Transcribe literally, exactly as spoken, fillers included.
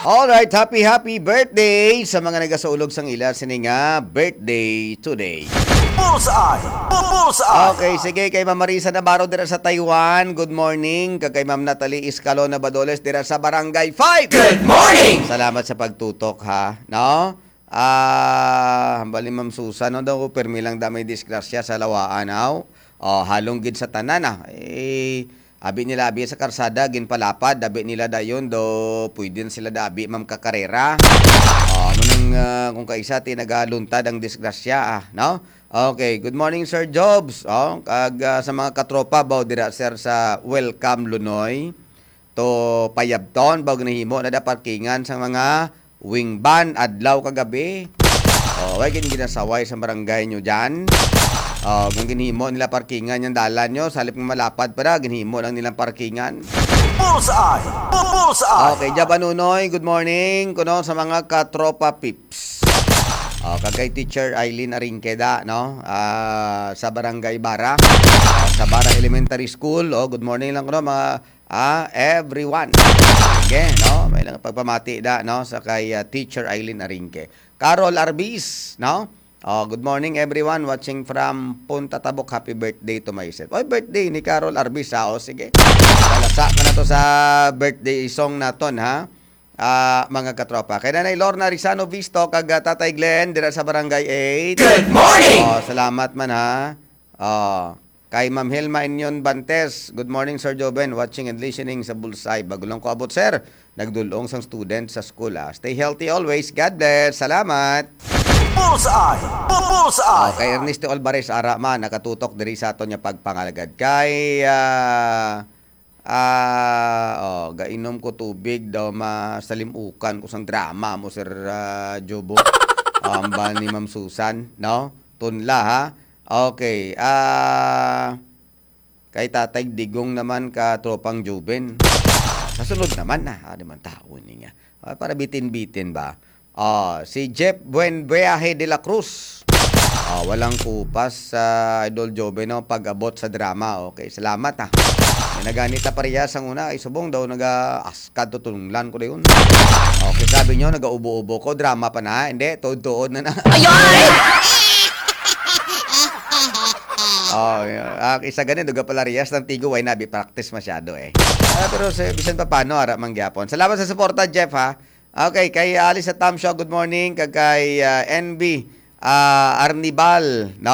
Alright, happy, happy birthday sa mga nagasaulog sang ila sini nga birthday today. Bullseye! Bullseye! Okay, sige, kay Ma'am Marisa Navarro dira sa Taiwan. Good morning. Kag kay Ma'am Natalie Escalona Badoles dira sa Barangay five. Good morning! Salamat sa pagtutok, ha, no? Ah, hambal ni Ma'am Susan, no, daw, permi lang da may disgrasya sa lawaan, aw. Oh, halong gid sa tanan, ah. Eh, abi nila, abi sa karsada, ginpalapad, abi nila dayon, do, pwede na sila da, abi, ma'am, kakarera. Oh, amo nang, ah, kung kaisa, ti nagaluntad ang disgrasya, ah, no? Okay, good morning, Sir Jobs. Oh, kag, ah, sa mga katropa, baw, dira, sir, sa Welcome Lunoy to Payabton, baw, ginahimo na da parkingan sa mga wing van, adlaw kag gabi. Oh, way gid ginasaway sa barangay nyo dyan. Oh, kung ginhimo nila parkingan yung dalan nyo, sa halip nga malapad pa na, ginhimo lang nilang parkingan. Bullseye! Bullseye! Okay, Jab Anunoy, good morning. Kuno sa mga katropa peeps. Oh, kag kay Teacher Eileen Aringkeda, no? Ah, sa Barangay Bara, ah, sa Bara Elementary School. Oh, good morning lang kuno, mga, ah, everyone. Sige, no? May lang pagpamati da, no? Sa kay, ah, Teacher Eileen Aringke. Carol Arbis, no? Oh, good morning, everyone, watching from Punta Tabok. Happy birthday to myself. Oy, birthday ni Carol Arbis, ha? O, sige. Lalasa ka na to sa birthday song naton, ha? Ah, mga katropa. Kay Nanay Lorna Rizano Visto, kag, ah, Tatay Glenn, dira sa Barangay eight. Good morning! Oh, salamat man, ha? Oh, kay Ma'am Helma Inyon Bantes, "Good morning, Sir Joven. Watching and listening sa Bullseye." Bago lang ko abot, sir. Nagdulong sang student sa school, ah. Stay healthy always. God bless. Salamat. Bullseye! Bu-, Bullseye! Oh, kay Ernesto Alvarez, ara man, nakatutok diri sa aton nga pagpangalagad. Kay, ah, ah, oh, gainom ko tubig daw, masalimukan ko sang drama mo, Sir, ah, Jobo. Ambal ni Ma'am Susan, no? Tunla, ha? Okay, ah, kay Tatay Digong naman ka tropang Juben. Sa sunod naman na, ah, di man tao ni nga. Ah, para bitin-bitin ba? Ah, si Jeff Buenviaje de la Cruz. Ah, walang kupas sa Idol Joven, no, pag-abot sa drama. Okay, salamat, ha. May naganita parehas ang una, ay subong daw naga-, kadto tunlan ko dayon. Okay, sabi nyo, nagaubo-ubo ko, drama pa na, hindi, tuod-tuod na na. Ayoy! Oh, yeah. Ah, isa gani, duga pala riyas ng Tigo, way nabi practice masyado eh. Ah, pero sa, bisan pa paano, ara man gyapon. Salamat sa suporta, Jeff, ha. Okay, kay Alice at Tam Show, good morning. Kag kay, ah, N B, ah, Arnibal, no?